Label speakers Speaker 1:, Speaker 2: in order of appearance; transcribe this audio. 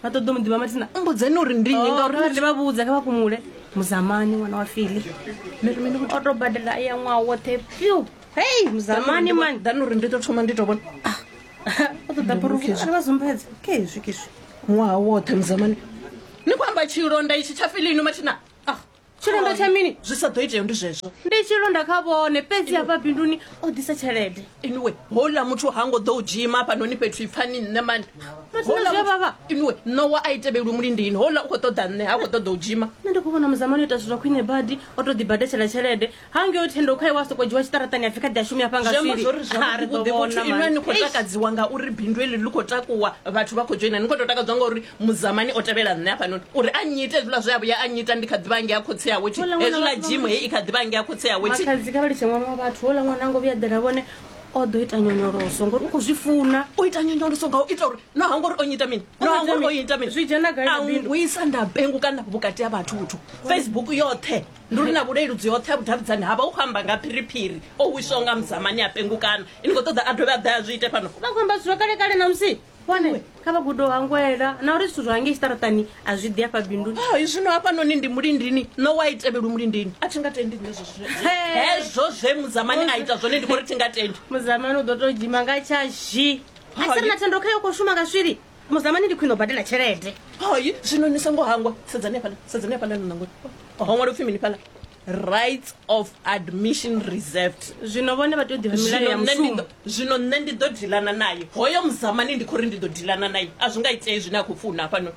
Speaker 1: Vha ṱoḓa mu ḓivha mathina.
Speaker 2: Mbudzeni uri ndi nnyi ngauri
Speaker 1: Kha vha vhudze kha vha fhumule. Muzamani ṅwana wa Fili. O to badela ya ṅwaha woṱhe pyu. Hei muzamani mani.
Speaker 2: Ḓani uri ndi to thoma ndi to vhona.
Speaker 1: O ṱoḓa phurufu a vha sumbedze. Khezwi khezwi.
Speaker 2: Ṅwaha woṱhe muzamani. Ni khou amba tshilonda itshi tsha Fili inwi mathina?
Speaker 1: Ah, tshilonda tsha mini?
Speaker 2: Zwi sa ḓo itea ndi zwezwo.
Speaker 1: Ndi tshilonda kha vhone fhedzi hafha binduni o ḓisa tshelede.
Speaker 2: Inwe houḽa muthu ha ngo ḓo u dzhima hafhanoni fhethu ipfani nṋe mani.
Speaker 1: Mathina zwi a vhavha.
Speaker 2: Inwe ṋowa a i tevhelwi mulindini houḽa u khou ṱoḓa nṋe ha khou ṱoḓa u dzhima.
Speaker 1: Nṋe ndi khou vhona muzamani o ita zwithu zwa khwine badi o to ḓibadetshela tshelede. Hangei Thendo khae wa soko dzhiwa tshiṱaraṱani a pfi kha ḓi a shumi hafha nga
Speaker 2: Zwi amba
Speaker 1: swili.
Speaker 2: zwori
Speaker 1: Ha, ri ḓo
Speaker 2: zwavhuḓi
Speaker 1: vhona
Speaker 2: vhuthu inwi
Speaker 1: mani.
Speaker 2: ni khou takadziwa ngauri bindu heḽi ḽi khou takuwa vhathu vha khou dzhoina ni khou tou takadziwa ngauri muzamani o tevhela nṋe hafhanoni uri a nnyite hezwiḽa zwe a vhuya a nnyita ndi kha ḓivha ngea khotsi awe thi
Speaker 1: Houḽa ṅwana
Speaker 2: hezwiḽa
Speaker 1: wa-
Speaker 2: gym heyi i kha ḓivha ngea khotsi awe thi
Speaker 1: Makhadzi kha vha litshe ṅwana wa vhathu houḽa ṅwana a ngo vhuya ḓela vhone o ḓo ita nyonyoloso ngori u khou zwi funa.
Speaker 2: U ita nyonyoloso nga u ita uri no hangwa uri o nyita mini no hangwa uri o ita mini
Speaker 1: Zwi dzhena gai
Speaker 2: a
Speaker 1: na bindu?
Speaker 2: ngwisa nda pengu kana vhukati ha vhathu vhuthu Facebook yoṱhe ndi uri na vhuleludzi hoṱhe ha vhudavhidzani ha vha u khou amba nga phiriphiri o wiswaho nga muzamani a pengukana ini khou ṱoḓa a dovhe a ḓe a zwi ite fhano.
Speaker 1: Vha khou amba zwithu zwa kale kale na musi vhone kha vha gude u hangwela na uri zwithu zwa ngei tshiṱaraṱani a zwi ḓi afha binduni.
Speaker 2: Hai zwino hafhanoni ndi mulindini no wa itevhelwi mulindini a thi nga tendi nṋe zwezwo hezwo zwe muzamani a ita zwone ndi khou ri thi nga tendi.
Speaker 1: Muzamani u ḓo tou dzhima nga tsha zhi a si ri na thendo khayo khou shuma nga swili. Muzamani ndi khwine u badela tshelede.
Speaker 2: Hai zwino ni songo hangwa sedzani hafhaḽa sedzani hafhaḽa ni nangoni ho ṅwala upfhi mini fhaḽa rights of admission reserved.
Speaker 1: Zwino vhone vha tea u ḓivha milayo ya mushumo.
Speaker 2: Zwino nṋe ndi ḓo dilana naye hoyo muzamani ndi khou ri ndi ḓo dilana naye a zwi nga itei zwine a khou funa hafhanoni.